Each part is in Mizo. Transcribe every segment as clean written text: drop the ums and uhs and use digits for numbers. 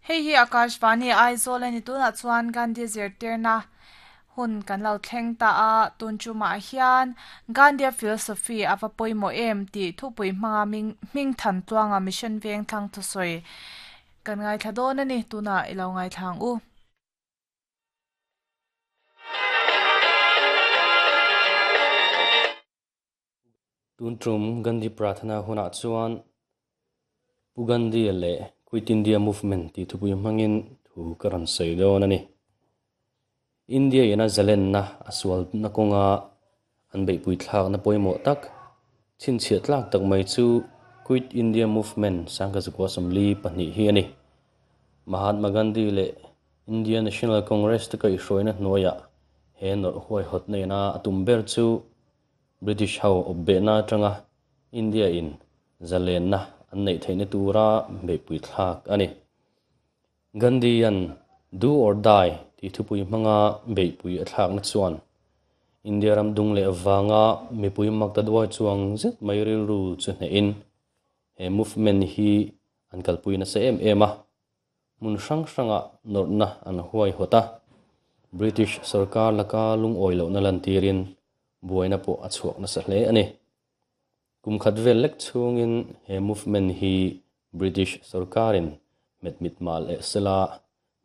Hei hi Akashvani Aizawl a ni. Tunah chuan Gandhi zirtirna hun kan lo thleng ta a, tun tumah hian Gandhia philosophy a va pawimawh em tih thupui hmanga hming than tluanga Mission Vengthlang thusawi kan ngaithla dawn a ni. Tunah i lo ngaithla ang u. Tun tum Gandhi Prathana hunah chuan Pu Gandhi-a leh Quit India Movement tih thupui hmangin thu ka rawn sawi dawn a ni. India ina zalenna a sualna kawnga an beihpui thlakna pawimawh tak, chhinchhiah tlak tak mai chu Quit India Movement sangkazakua 42 hi a ni. Mahatma Gandhi leh India National Congress te kaihhruaina hnuaiah he nawrh huaihawtna ina a tum ber chu British ho awp behna atanga India in zalenna an neih theihna tura beihpui thlak a ni. Gandhi-a'n Do or Die tih thupui hmanga beihpui a thlakna chuan India ram dung leh vanga mipui mak ta duai chuang zet mai rilru chu hnehin he movement hi an kalpui nasa em em a. Hmun hrang hrangah nawrhna an huaihawt a, British sorkar laka lungawi lohna lantirin buaina pawh a chhuak nasa hle a ni. Kum khat vel lek chhungin he movement hi British sorkarin hmet mit mah leh sela,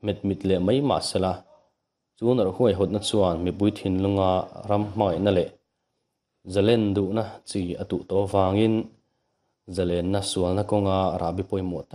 hmet mit leh mai mah sela, chu nawrh huaihawtna chuan mipui thinlunga ram hmangaihna leh zalen duhna chi a tuh tawh avangin zalenna sualna kawnga rahbi pawimawh tak.